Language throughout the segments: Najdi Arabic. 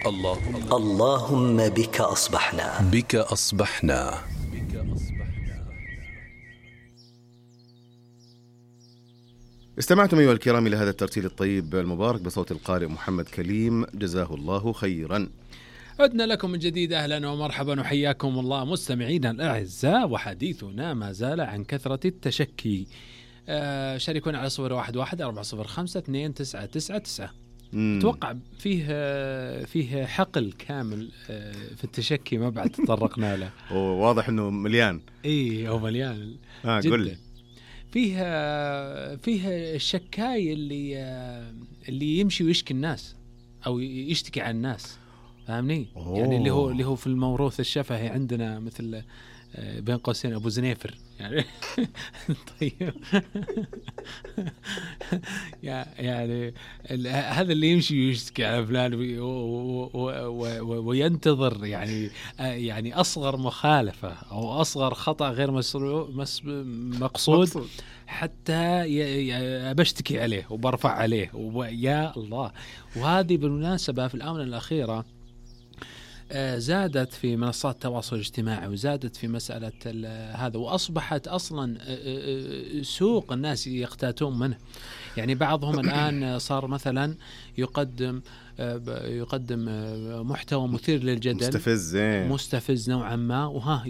اللهم بك أصبحنا. بك أصبحنا. استمعتم أيها الكرام إلى هذا الترتيل الطيب المبارك بصوت القارئ محمد كليم، جزاه الله خيرا. عدنا لكم من جديد، أهلا ومرحبا وحياكم الله مستمعينا الأعزاء، وحديثنا ما زال عن كثرة التشكي. شاركونا على 0114052999. أتوقع فيه حقل كامل في التشكي ما بعد تطرقنا له. واضح أنه مليان. إيه هو مليان جدا. قل لي. فيه الشكاي اللي يمشي ويشكي الناس أو يشتكي عن الناس، فاهمني؟ يعني اللي هو في الموروث الشفهي عندنا مثل بين قوسين أبو زنيفر يعني. طيب. يعني هذا اللي يمشي ويشتكي على فلان وينتظر يعني أصغر مخالفة أو أصغر خطأ غير مقصود حتى بشتكي عليه وبرفع عليه ويا الله. وهذه بالمناسبة في الآونة الأخيرة زادت في منصات التواصل الاجتماعي، وزادت في مسألة هذا، وأصبحت أصلا سوق الناس يقتاتون منه. يعني بعضهم الآن صار مثلا يقدم محتوى مثير للجدل، مستفز نوعا ما،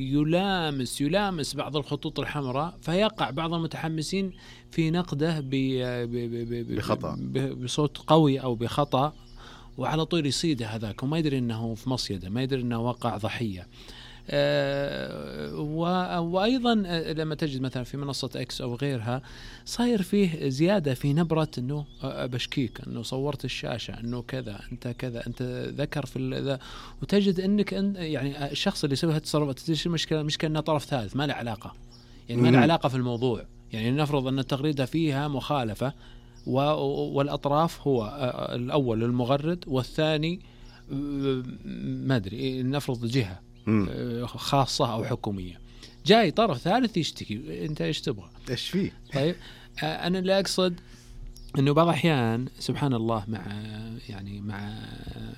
يلامس بعض الخطوط الحمراء، فيقع بعض المتحمسين في نقده بخطأ، بصوت قوي أو بخطأ، وعلى طول يصيده هذاك وما يدري أنه في مصيدة، ما يدري أنه وقع ضحية. وأيضا لما تجد مثلا في منصة إكس أو غيرها صاير فيه زيادة في نبرة أنه بشكيك، أنه صورت الشاشة، أنه كذا أنت كذا أنت ذكر في ذا، وتجد أنك يعني الشخص اللي يسوي هالتصرفات المشكلة أنه طرف ثالث ما له علاقة، يعني ما له علاقة في الموضوع. يعني نفرض أن التغريدة فيها مخالفة والأطراف هو الأول المغرد والثاني ما أدري نفرض جهة خاصة أو حكومية، جاي طرف ثالث يشتكي، أنت إيش تبغى؟ إيش فيه؟ طيب أنا اللي أقصد إنه بعض الأحيان سبحان الله مع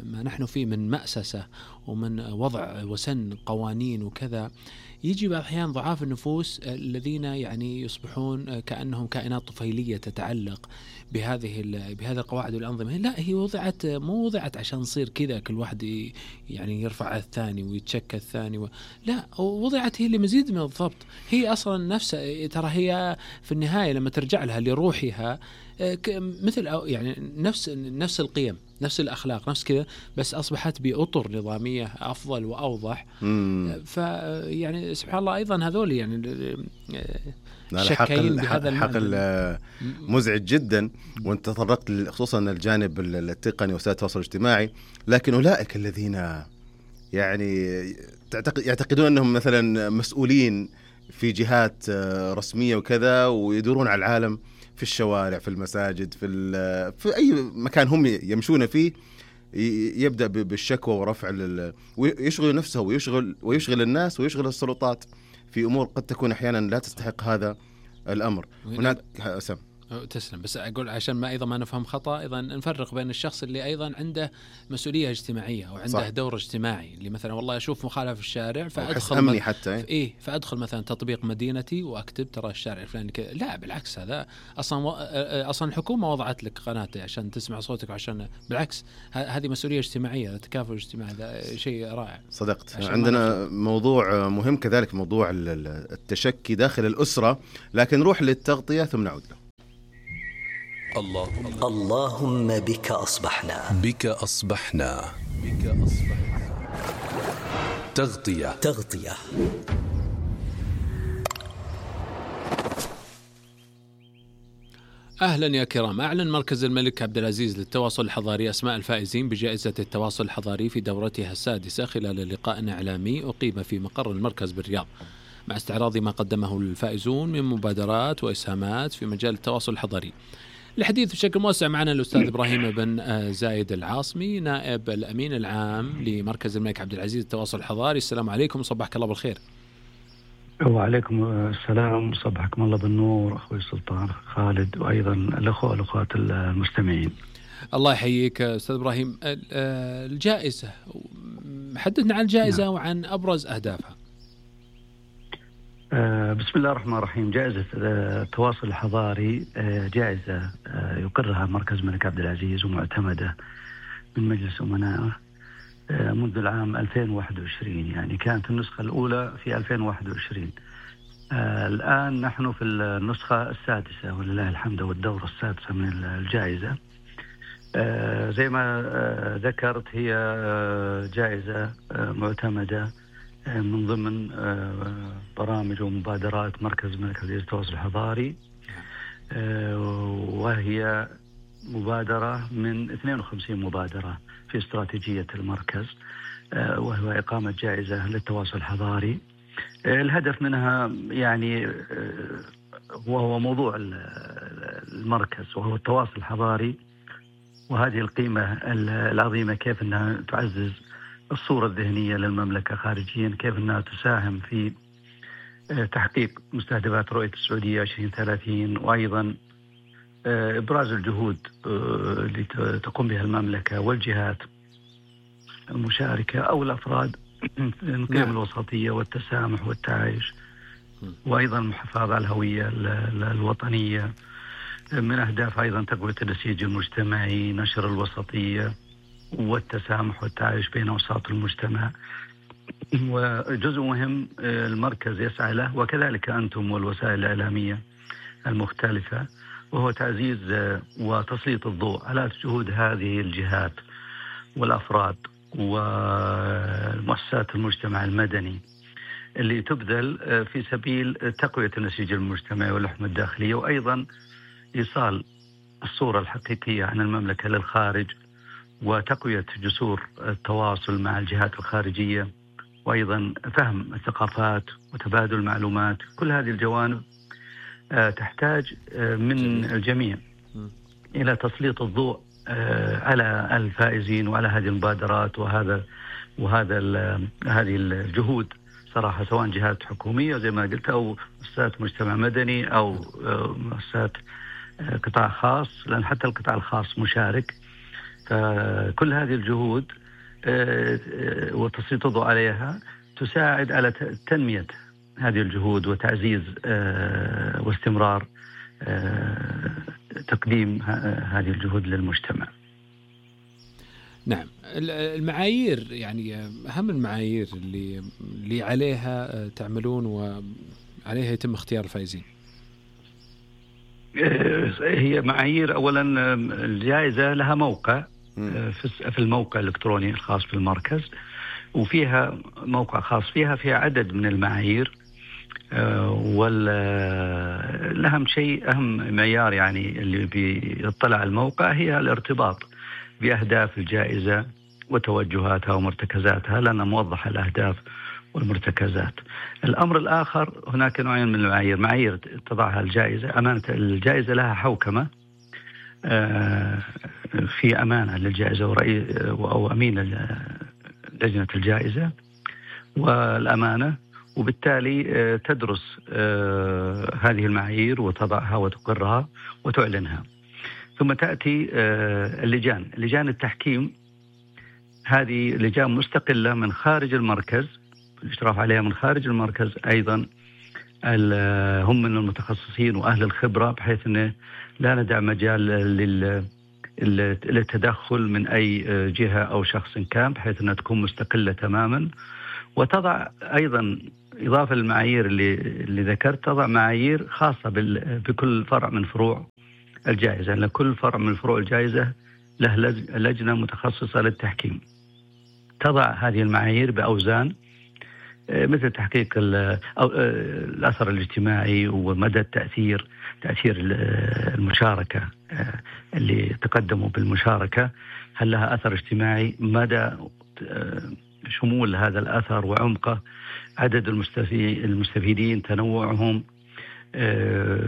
ما نحن فيه من مأسسة ومن وضع وسن قوانين وكذا، يجي بعض الأحيان ضعاف النفوس الذين يعني يصبحون كأنهم كائنات طفيلية تتعلق بهذه القواعد والأنظمة. لا، هي مو وضعت عشان نصير كذا كل واحد يعني يرفع الثاني ويتشكى الثاني لا، وضعت هي لمزيد من الضبط. هي أصلا نفسها ترى هي في النهاية لما ترجع لها لروحها مثل يعني نفس القيم، نفس الأخلاق، نفس كذا، بس أصبحت بأطر نظامية أفضل وأوضح. فيعني سبحان الله أيضا هذول يعني شكاين بهذا الحقل مزعج جدا. وانت تطرقت خصوصا الجانب التقني وسائل التواصل الاجتماعي، لكن أولئك الذين يعني يعتقدون أنهم مثلا مسؤولين في رسمية وكذا، ويدورون على العالم في الشوارع، في المساجد، في أي مكان هم يمشون فيه، يبدأ بالشكوى ورفع ويشغل نفسه ويشغل الناس ويشغل السلطات في أمور قد تكون أحيانا لا تستحق هذا الأمر. هناك تسلم، بس أقول عشان ما نفهم خطأ، أيضا نفرق بين الشخص اللي أيضا عنده مسؤولية اجتماعية أو عنده صح. دور اجتماعي، اللي مثلا والله أشوف مخالفة في الشارع فأدخل حتى فأدخل مثلا تطبيق مدينتي وأكتب ترى الشارع الفلاني كذا. لا بالعكس، هذا أصلا الحكومة وضعت لك قناة عشان تسمع صوتك، وعشان بالعكس هذه مسؤولية اجتماعية، تكافل اجتماعي، هذا شيء رائع. صدقت. عندنا موضوع مهم كذلك، موضوع التشكي داخل الأسرة، لكن نروح للتغطية ثم نعود له. اللهم بك أصبحنا. بك أصبحنا. تغطية. أهلا يا كرام. أعلن مركز الملك عبد العزيز للتواصل الحضاري أسماء الفائزين بجائزة التواصل الحضاري في دورتها السادسة خلال لقاء إعلامي أقيم في مقر المركز بالرياض، مع استعراض ما قدمه الفائزون من مبادرات وإسهامات في مجال التواصل الحضاري. الحديث بشكل موسع معنا الأستاذ إبراهيم بن زايد العاصمي، نائب الأمين العام لمركز الملك عبد العزيز للتواصل الحضاري. السلام عليكم وصبحك الله بالخير. وعليكم السلام، صبحكم الله بالنور أخوي السلطان خالد، وأيضا الأخوة والأخوات المستمعين. الله يحييك أستاذ إبراهيم. الجائزة، حدثنا عن الجائزة وعن أبرز أهدافها. بسم الله الرحمن الرحيم. جائزة التواصل الحضاري جائزة يقرها مركز الملك عبد العزيز ومعتمدة من مجلس أمنائه منذ العام 2021. يعني كانت النسخة الأولى في 2021. الآن نحن في النسخة السادسة ولله الحمد، والدورة السادسة من الجائزة. زي ما ذكرت، هي جائزة معتمدة من ضمن برامج ومبادرات مركز الملك عبد العزيز للتواصل الحضاري، وهي مبادرة من 52 مبادرة في استراتيجية المركز، وهو إقامة جائزة للتواصل الحضاري. الهدف منها يعني وهو موضوع المركز، وهو التواصل الحضاري، وهذه القيمة العظيمة كيف أنها تعزز الصورة الذهنية للمملكة خارجيا، كيف أنها تساهم في تحقيق مستهدفات رؤية السعودية 2030، وأيضا إبراز الجهود اللي تقوم بها المملكة والجهات المشاركة أو الأفراد من قيم الوسطية والتسامح والتعايش، وأيضا المحافظة على الهوية الوطنية. من أهداف أيضا تقوية النسيج المجتمعي، نشر الوسطية والتسامح والتعايش بين أوساط المجتمع. وجزء مهم المركز يسعى له، وكذلك أنتم والوسائل الإعلامية المختلفة، وهو تعزيز وتسليط الضوء على جهود هذه الجهات والأفراد ومؤسسات المجتمع المدني اللي تبذل في سبيل تقوية النسيج المجتمعي واللحمة الداخلية، وأيضا إيصال الصورة الحقيقية عن المملكة للخارج، وتقوية جسور التواصل مع الجهات الخارجية، وأيضا فهم الثقافات وتبادل المعلومات. كل هذه الجوانب تحتاج من الجميع إلى تسليط الضوء على الفائزين وعلى هذه المبادرات هذه الجهود صراحة، سواء جهات حكومية زي ما قلت أو مؤسسات مجتمع مدني أو مؤسسات قطاع خاص، لأن حتى القطاع الخاص مشارك. فكل هذه الجهود وتسليط الضوء عليها تساعد على تنمية هذه الجهود وتعزيز واستمرار تقديم هذه الجهود للمجتمع. نعم، المعايير، يعني أهم المعايير اللي عليها تعملون وعليها يتم اختيار الفائزين. هي معايير، أولا الجائزة لها موقع في الموقع الإلكتروني الخاص بالمركز، وفيها موقع خاص فيها عدد من المعايير. أهم معيار يعني اللي بيطلع الموقع هي الارتباط بأهداف الجائزة وتوجهاتها ومرتكزاتها، لأنها موضحة الأهداف والمرتكزات. الأمر الآخر، هناك نوعين من المعايير: معايير تضعها الجائزة، أمانة الجائزة لها حوكمة في أمانة للجائزة أو أمين لجنة الجائزة والأمانة، وبالتالي تدرس هذه المعايير وتضعها وتقرها وتعلنها. ثم تأتي لجان التحكيم. هذه لجان مستقلة من خارج المركز، الاشراف عليها من خارج المركز أيضا، هم من المتخصصين وأهل الخبرة، بحيث أنه لا ندع مجال للتدخل من أي جهة أو شخص كان، بحيث أنها تكون مستقلة تماما. وتضع أيضا إضافة للمعايير اللي ذكرت، تضع معايير خاصة بكل فرع من فروع الجائزة، لأن كل فرع من فروع الجائزة له لجنة متخصصة للتحكيم تضع هذه المعايير بأوزان، مثل تحقيق الأثر الاجتماعي ومدى تأثير المشاركة اللي تقدموا بالمشاركة، هل لها أثر اجتماعي، مدى شمول هذا الأثر وعمقه، عدد المستفيدين، تنوعهم،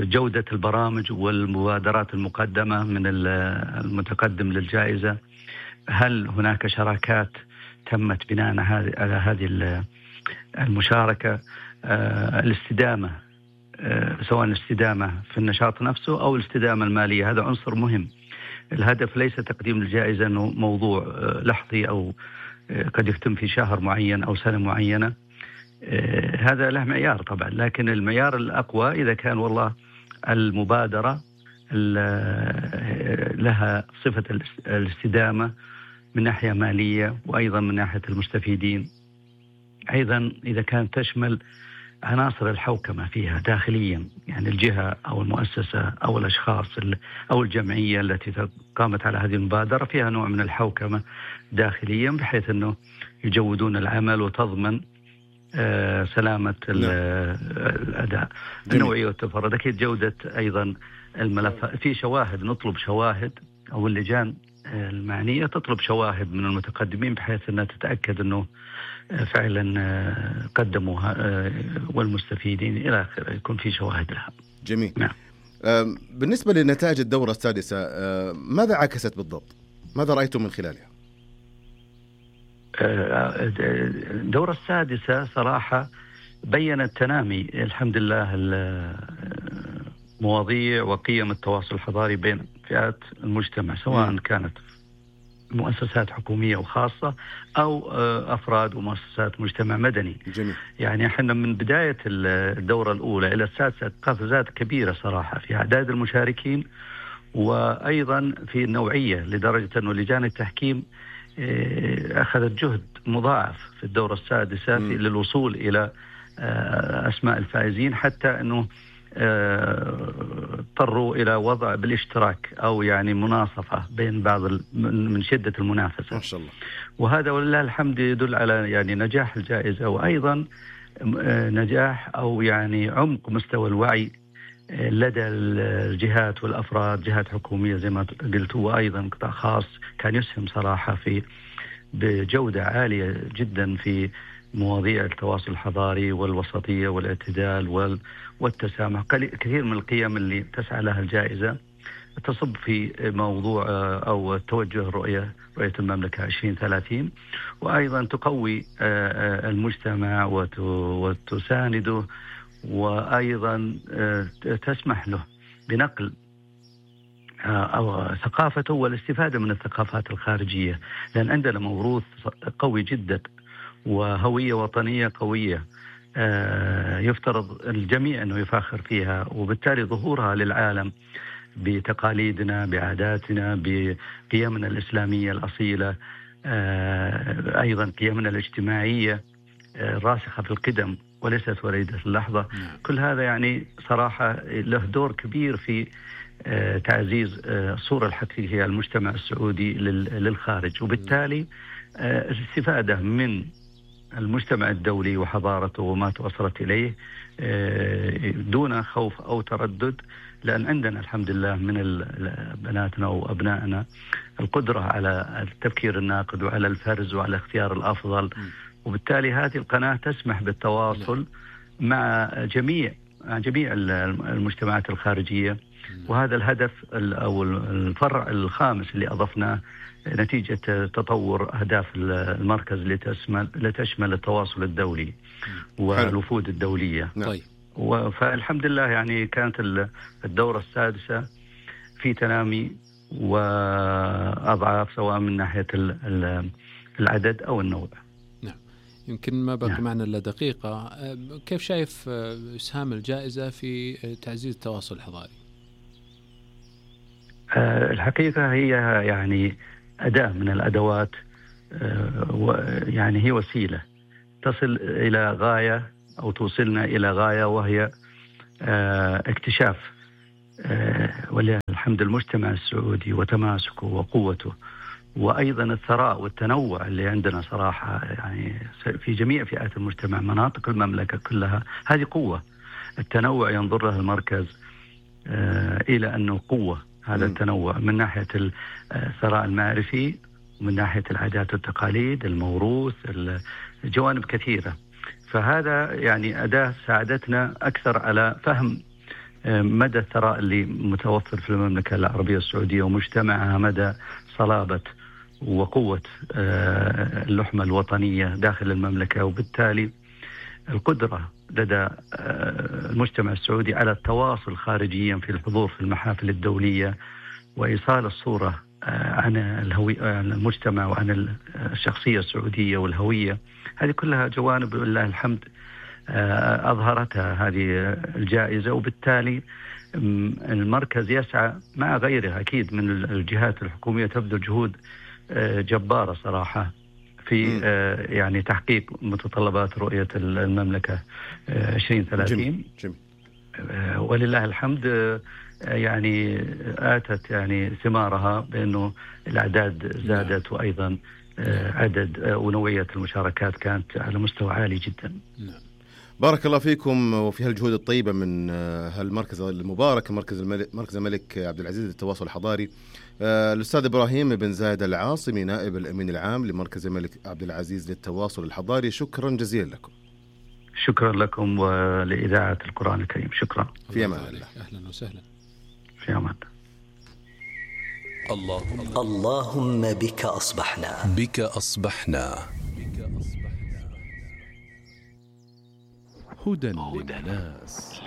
جودة البرامج والمبادرات المقدمة من المتقدم للجائزة، هل هناك شراكات تمت بناء على هذه المشاركة، الاستدامة، سواء الاستدامة في النشاط نفسه أو الاستدامة المالية. هذا عنصر مهم الهدف ليس تقديم الجائزة أنه موضوع لحظي أو قد يتم في شهر معين أو سنة معينة، هذا له معيار طبعا، لكن المعيار الأقوى إذا كان والله المبادرة لها صفة الاستدامة من ناحية مالية وأيضا من ناحية المستفيدين، أيضا إذا كانت تشمل عناصر الحوكمة فيها داخليا، يعني الجهة أو المؤسسة أو الأشخاص أو الجمعية التي قامت على هذه المبادرة فيها نوع من الحوكمة داخليا، بحيث أنه يجودون العمل وتضمن سلامة الأداء. النوعية والتفرد، أكيد جودة أيضا الملف، في شواهد، نطلب شواهد أو اللجان المعنية تطلب شواهد من المتقدمين بحيث أنها تتأكد أنه فعلا قدموا والمستفيدين إلى آخره يكون في شواهد لها. جميل. نعم. بالنسبة لنتائج الدورة السادسة ماذا عكست بالضبط؟ ماذا رأيتم من خلالها؟ الدورة السادسة صراحة بيّنت تنامي الحمد لله مواضيع وقيم التواصل الحضاري بين فئات المجتمع، سواء كانت مؤسسات حكومية وخاصة أو أفراد ومؤسسات مجتمع مدني. جميل. يعني احنا من بداية الدورة الأولى إلى السادسة قفزات كبيرة صراحة في أعداد المشاركين وأيضا في النوعية، لدرجة أنه لجان التحكيم أخذت جهد مضاعف في الدورة السادسة للوصول إلى أسماء الفائزين، حتى أنه اضطروا إلى وضع بالاشتراك أو يعني مناصفة بين بعض من شدة المنافسة. ما شاء الله. وهذا ولله الحمد يدل على يعني نجاح الجائزة، وأيضا نجاح أو يعني عمق مستوى الوعي لدى الجهات والأفراد، جهات حكومية زي ما قلت، وأيضا قطاع خاص كان يسهم صراحة في بجودة عالية جدا في مواضيع التواصل الحضاري والوسطية والاعتدال والتسامح. كثير من القيم اللي تسعى لها الجائزة تصب في موضوع أو توجه رؤية المملكة 2030، وأيضا تقوي المجتمع وتسانده، وأيضا تسمح له بنقل أو ثقافته والاستفادة من الثقافات الخارجية، لأن عندنا موروث قوي جدا وهوية وطنية قوية يفترض الجميع أنه يفاخر فيها، وبالتالي ظهورها للعالم بتقاليدنا، بعاداتنا، بقيمنا الإسلامية الأصيلة، أيضا قيمنا الاجتماعية راسخة في القدم وليست وليدة اللحظة. كل هذا يعني صراحة له دور كبير في تعزيز الصورة الحقيقية المجتمع السعودي للخارج، وبالتالي الاستفادة من المجتمع الدولي وحضارته وما توصلت إليه دون خوف أو تردد، لأن عندنا الحمد لله من بناتنا وأبنائنا القدرة على التفكير الناقد وعلى الفرز وعلى اختيار الأفضل، وبالتالي هذه القناة تسمح بالتواصل مع جميع المجتمعات الخارجية. وهذا الهدف أو الفرع الخامس اللي أضفناه نتيجة تطور أهداف المركز اللي تشمل التواصل الدولي والوفود الدولية. طيب. فالحمد لله يعني كانت الدورة السادسة في تنامي وأضعاف، سواء من ناحية العدد أو النوع. نعم. يمكن ما بقى معنا إلا دقيقة. كيف شايف إسهام الجائزة في تعزيز التواصل الحضاري؟ الحقيقة هي يعني أداة من الأدوات، يعني هي وسيلة تصل إلى غاية أو توصلنا إلى غاية، وهي اكتشاف ولله الحمد المجتمع السعودي وتماسكه وقوته، وأيضا الثراء والتنوع اللي عندنا صراحة يعني في جميع فئات المجتمع، مناطق المملكة كلها. هذه قوة، التنوع ينظر له المركز إلى أنه قوة، هذا التنوع من ناحية الثراء المعرفي ومن ناحية العادات والتقاليد، الموروث، الجوانب كثيرة. فهذا يعني أداة ساعدتنا أكثر على فهم مدى الثراء اللي متوفر في المملكة العربية السعودية ومجتمعها، مدى صلابة وقوة اللحمة الوطنية داخل المملكة، وبالتالي القدرة لدى المجتمع السعودي على التواصل خارجيا في الحضور في المحافل الدولية وإيصال الصورة عن الهوية، عن المجتمع، وعن الشخصية السعودية والهوية. هذه كلها جوانب لله الحمد أظهرتها هذه الجائزة، وبالتالي المركز يسعى مع غيره أكيد من الجهات الحكومية تبذل جهود جبارة صراحة في يعني تحقيق متطلبات رؤية المملكة 2030. ولله الحمد يعني آتت يعني ثمارها، بأنه الأعداد زادت، وأيضا عدد ونوعية المشاركات كانت على مستوى عالي جدا. بارك الله فيكم وفي هالجهود الطيبة من هالمركز المبارك، مركز الملك عبد العزيز للتواصل الحضاري. الأستاذ إبراهيم بن زايد العاصمي نائب الأمين العام لمركز الملك عبد العزيز للتواصل الحضاري، شكرا جزيلا لكم. شكرا لكم ولإذاعة القرآن الكريم. شكرا. في أمان الله. أهلا وسهلا. في أمان. اللهم بك أصبحنا. بك أصبحنا. هدى للناس.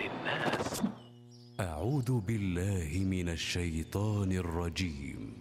أعوذ بالله من الشيطان الرجيم.